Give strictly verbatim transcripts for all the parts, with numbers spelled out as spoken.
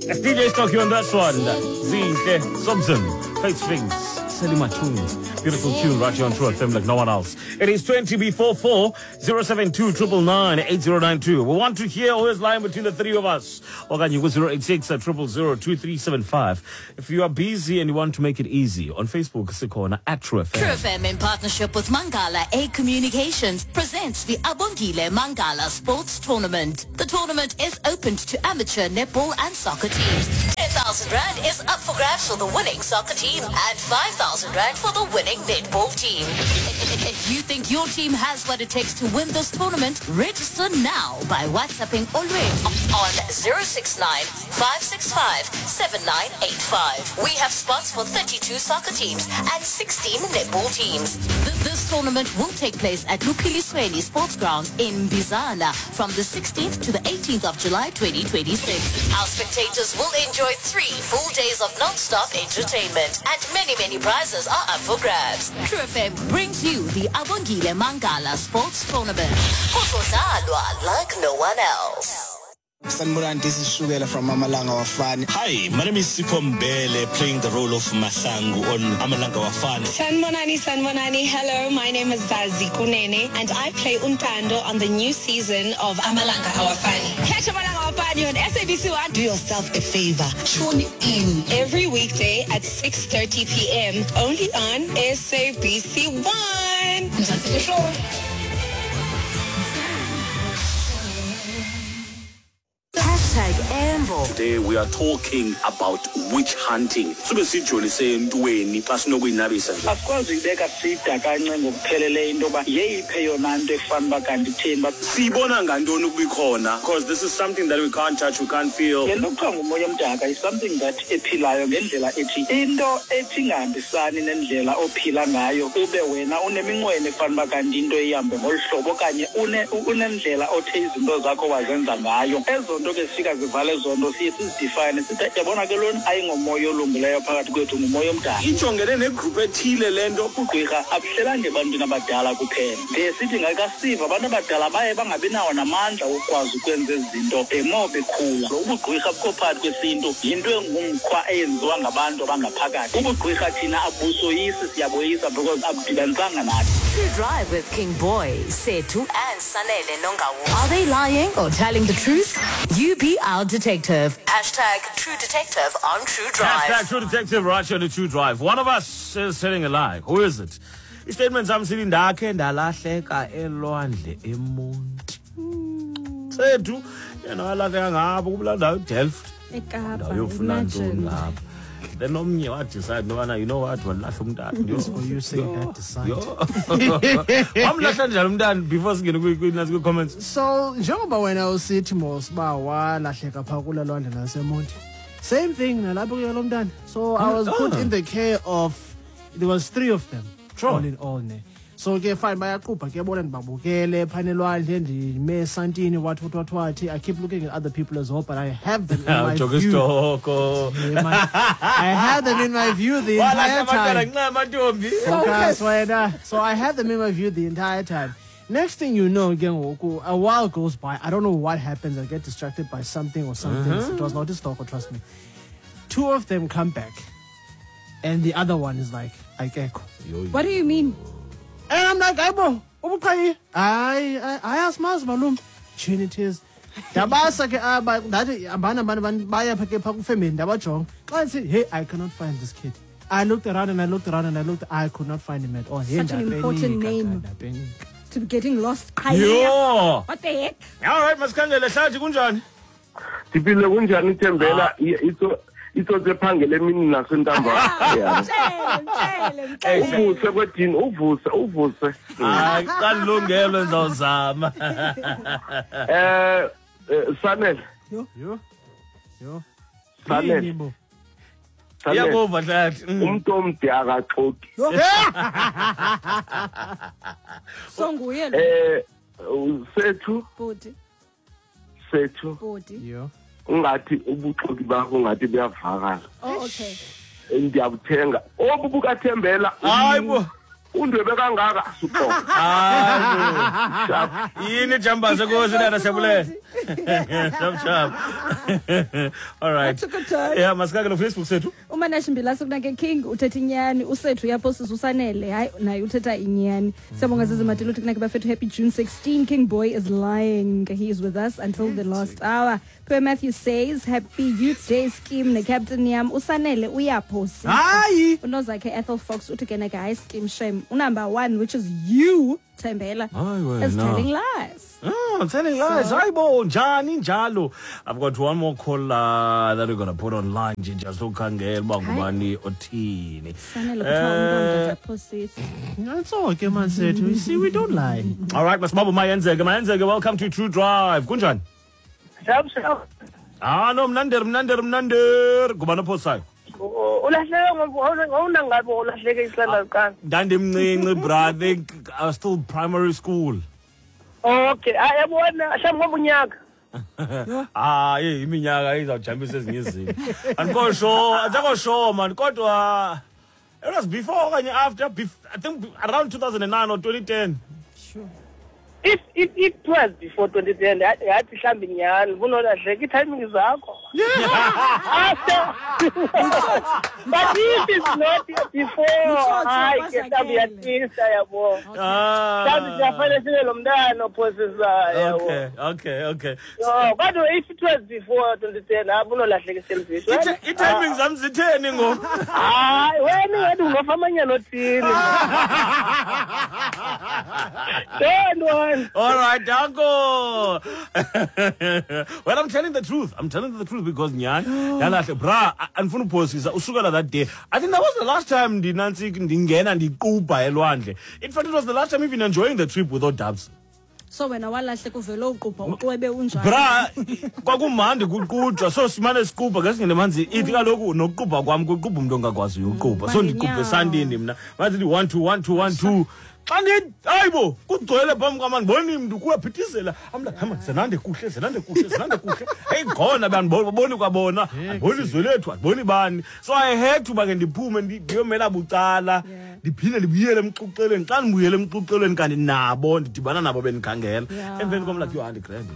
It's D J Stocky on this one. Zinhle Sobson, Faith Strings, Selling My Tunes. Beautiful tune right here on True F M like no one else. It is twenty before four, zero seven two nine nine nine eight zero nine two. We want to hear who is lying between the three of us. Okanye ku zero eight six zero zero zero two three seven five. If you are busy and you want to make it easy, on Facebook, sikhona at True F M. True F M, in partnership with Mangala A Communications, presents the Abongile Mangala Sports Tournament. The tournament is open to amateur netball and soccer teams. ten thousand rand is up for grabs for the winning soccer team and five thousand rand for the winning netball team. If you think your team has what it takes to win this tournament, register now by WhatsApping Olwethu on zero six nine five six five seven nine eight five. We have spots for thirty-two soccer teams and sixteen netball teams. Th- This tournament will take place at Luphilisweni Sports Grounds in Bizana from the sixteenth to the eighteenth of July twenty twenty-six. Our spectators will enjoy three full days of non-stop entertainment, and many, many prizes are up for grabs. True F M brings you the Abongile Mangala Sports Tournament. Kuzodlalwa like no one else. Sanibonani, this is Shukela from Amalanga Awafani. Hi, my name is Sipho Mbele, playing the role of Mahlangu on Amalanga Awafani. Sanibonani, Sanibonani. Hello, my name is Zazi Kunene and I play Untando on the new season of Amalanga Awafani. Catch Amalanga Awafani on S A B C one. Do yourself a favor. Tune in every weekday at six thirty p m only on S A B C one. Mzansi for sure. Hashtag Ambo. Today we are talking about witch hunting. Sube sijolise entweni xa sinokuyinabisa nje. Asikwazi uyibeka sida kancinci ngokupheleleyo into yoba yeyiphi eyona nto efana uba kanti itheni uba Siyibona ngantoni ukuba ikhona? Because this is something that we can't touch, we can't feel. Le nto kuthiwa ngumoya omdaka is something that ephilayo ngendlela ethi into ethi ingahambisani nendlela ophila ngayo, ube wena uneminqweno efana uba kanti into ihambe ngolu hlobo okanye une- unendlela othe izinto zakho wazenza ngayo, ezo nto ke zifika zivale ezo nto, siye sizidefine sithi, yabona ke lona ayingomoya olungileyo phakathi kwethu, ngumoya omdaka. Ijongene negroup ethile le nto. Ubugqirha abuhlelanga ebantwini abadala kuphela. Ndiye sithi ngakasiva abantu abadala baye bangabi nawo namandla wokukwazi ukwenza ezi zinto the more bekhula. Ubugqirha bukho phakathi kwesintu, yinto engumkhwa eyenziwa ngabantu abangaphakathi. Ubugqirha thina abusoyisi, siyaboyisa because abudibanisanga nathi. True Drive with King Boy, Setu and Sanele Nongawu. Are they lying or telling the truth? You be our detective. Hashtag True Detective on True Drive. Hashtag True Detective right here on the True Drive. One of us is telling a lie. Who is it? Istatement sam sithi ndakhe ndalahleka elwandle eMonti. Sethu yena walahleka ngapho kulaa ndawo eDelft. eKapa. Ndawo yofuna ntoni Imagine. ngapha. Then omnye wadecide nobana, you know what, walahla umntana. Oh, you say that decide. Yho. Wamlahla njani umntana before singene kwi- kwi- nasi kwi-comments? So njengoba wena usithi mos uba walahleka phaa kulaa lwandle laseMonti, same thing nalapho kuye lo mntana. So I was put Ah. in the care of, there was three of them Sure. all in all, ne. So ke fine, bayaqubha ke bona, ndibabukele phana elwandle, ndime esantini, what what what what. I keep looking at other people as well, but I have them in my Ujonge view. isitoko. Yeah, man. I had them in my view the Walahla entire abantwana time. ncama ntombi. Focus, wena. So I had them in my view the entire time. Next thing you know, again, a while goes by. I don't know what happens. I get distracted by something or something. It was not a stalker, trust me. Two of them come back, and the other one is like, "Akekho." What do you mean? And I'm like, "Ayibo, ubuqhayi." Hayi, hayi, asimazi malume. Tshini it is. Ndabasa ke aba, ndathi ambana ambana bani baya pha ke pha kufemeli, ndabajonga. Xa ndisithi, "Hey, I cannot find this kid." I looked around and I looked around and I looked, I could not find him at all. Hey, Such an important ndapenika, name. ndapenika. To be getting lost. Yho. What the heck? All right, masikhangele hlathi, kunjani? Ndiphile, kunjani Thembela? Itso itsotsi ephangele emini nasentambama. Yeah. Mtshele, mtshele, mtshele. Uvuse kwedini, uvuse, uvuse. Hayi, xa ndilungelwe ndizawuzama. Eh eh, Sanele, Yho, yho, yho. Sanele. Yini bo? Sanele. Iyakuva hlathi. Mm. Umuntu omde akaxoki. So nguye lo. Eh sethu Bhuti, sethu bhuti. Yho. Ungathi ubuxoki bakho ungathi buyavakala. Oh, okay. Ndiyabuthenga. Obu bukaThembela. Hayi bo. Undwebe kangaka asuxoka. Hayi. Yini jambase kosi dada siyabulela. Sharp sharp. All right. That took a turn. Yeah, masikake no Facebook sethu. Umanashi Mbilase kunake King uthetha inyani, usethu uyaphosisa usanele, hayi naye uthetha inyani. Siyabonga Zizi Matilo uthi kunake bafethu happy June sixteenth. King Boy is lying. He is with us until the last hour. Per Matthew says happy Youth Day scheme ne Captain yam usanele uyaphosisa. Hayi. Unozakhe Ethel Fox uthi ke nake hayi scheme shame. Number one, which is you, Thembela, is telling lies. Oh, telling lies. So- Hayibo, njani njalo. I've got one more call uh, that we're going to put online nje just ukhangela uba ngubani othini. Sanele kuthiwa umntu Eh, uyaphosisa. It's okay man sethu. You see we don't lie. All right, masibambe mayenzeke, mayenzeke. Welcome to True Drive. Kunjani? Sharp sharp. Ah no, mnander mnander mnander. Ngubani ophosayo? Ulahleke ngowunangabe ulahleke isilanda kuqala. Ndandimncinci bra, I think I was still primary school. Okay, ayabona mhlawumbi ngoba unyaka. Ah, hey, iminyaka izawujambisa ezinye izinto. Andikho sure, andikho sure man, kodwa it was before okanye after, bef- I think around two thousand nine or twenty ten. Sure. If if it was before twenty ten, yathi mhlawumbi nyhani bunolahleka i-timing zakho. After. But if it's not before, hayi ke mhlawumbi uyatwista yabo. Mhlawumbi siyafanele sibe lo mntana ophosisayo yabo. Okay, okay, okay. So, kodwa if it was before twenty ten, hayi bunolahleka iselfish. I-timing zam zitheni ngoku? Hayi, wena ingathi ungafa amanyana othile. Don't worry. All right, danko. Well, I'm telling the truth. I'm telling the truth because nyan, yalahle bra, andifuna uphosisa usukela that day. I think that was the last time ndinansi ndingena ndiqubha elwandle. In fact, it was the last time even enjoying the trip without dubs. So wena walahleka uvele uqubha uqwebe unjani? Bra, kwakumandi kuqujwa so simane siqubha ke singene manzi ithi kaloku nokuqubha kwam kuqubha umuntu ongakwaziyo uqubha. So ndiqubhe esandini mna. Bathi one two one two one two. Xa ndithi hayibo kugcwele phambi kwam andiboni mntu kuyaphithizela. I'm like, hama zenande kuhle zenande kuhle zenande kuhle. Hey khona bandiboni kwabona andiboni izwe lethu andiboni bani. So I had to uba ke ndiphume ndiyomela bucala ndiphinde ndibuyele emxuxelweni. Xa ndibuyele emxuxelweni kanti nabo ndidibana nabo bendikhangela. Emveni kwam like, yho andigrand.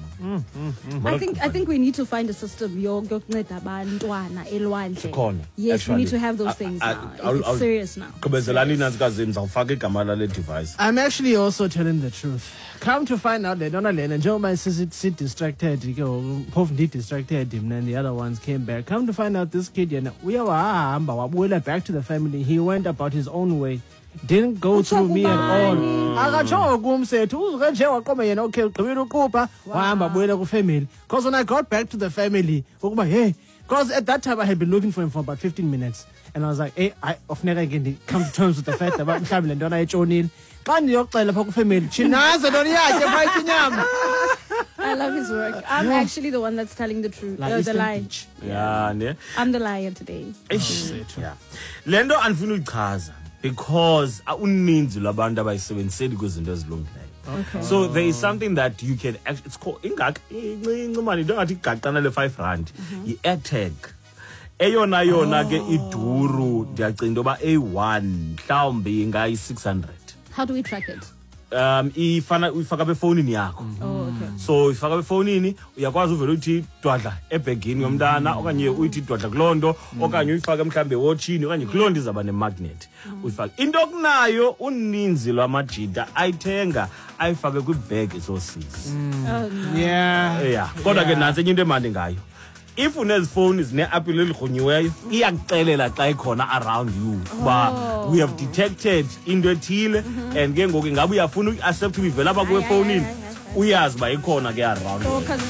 I think I think we need to find a system yokunceda abantwana elwandle. Sikhona. Yes, we need to have those things now. It's serious now. Gqibezelani inantsikazi ndizawufaka igama lale device. I'm actually also telling the truth. Come to find out, lentona lena njengoba si distracted ke phofu ndi-distracted mna and the other ones came back. Come to find out this kid yena uye wahamba wabuyela back to the family. He went about his own way. Didn't go through me at all. Akatshongo kum sethu uzuke nje waqoma yena okay ugqibile uqubha wahamba buyela ku-family. Because when I got back to the family ukuba hey, because at that time I had been looking for him for about fifteen minutes. And I was like, hey, I ofuneka ke come to terms with the fact that mhlawumbi le ntwana etshonile. Xa ndiyoxela phaa ku-family, tshinaze ntoni yakhe phaa inyama. I love his work. I'm yeah. actually the one that's telling the truth, uh, the lie. Yeah, ne? I'm the liar today. Eish, yeah. Le nto andifuna uyichaza because uninzi lwabantu abayisebenziseli kwizinto ezilungileyo. Okay. So there is something that you can actually, it's called ingak incinci mani into engathi igaqana le five rand i-AirTag. Eyona yona ke iduru ndiyacinga into yoba eyi-one mhlawumbi ingayi-six hundred. How do we track it? Um ifana uyifaka befowunini yakho. Oh, okay. So uyifaka befowunini uyakwazi uvele uthi dwadla ebhegini yomntana okanye uyithi dwadla kuloo nto okanye uyifake mhlawumbi ewotshini okanye kuloo nto izawuba nemagnet. Uyifake. Into okunayo uninzi lwamajita ayithenga ayifake kwibhegi zoosisi. Oh, no. Yeah. Yeah. Kodwa ke nantsi enye into emandi ngayo. If unezifowuni zine-apple elirhunyiweyo iyakuxelela xa ikhona around you uba we have detected into ethile and ke ngoku ingabe uyafuna uyi-accept uyivela apha kuwe efowunini uyazi uba ikhona ke around. Oh, 'cause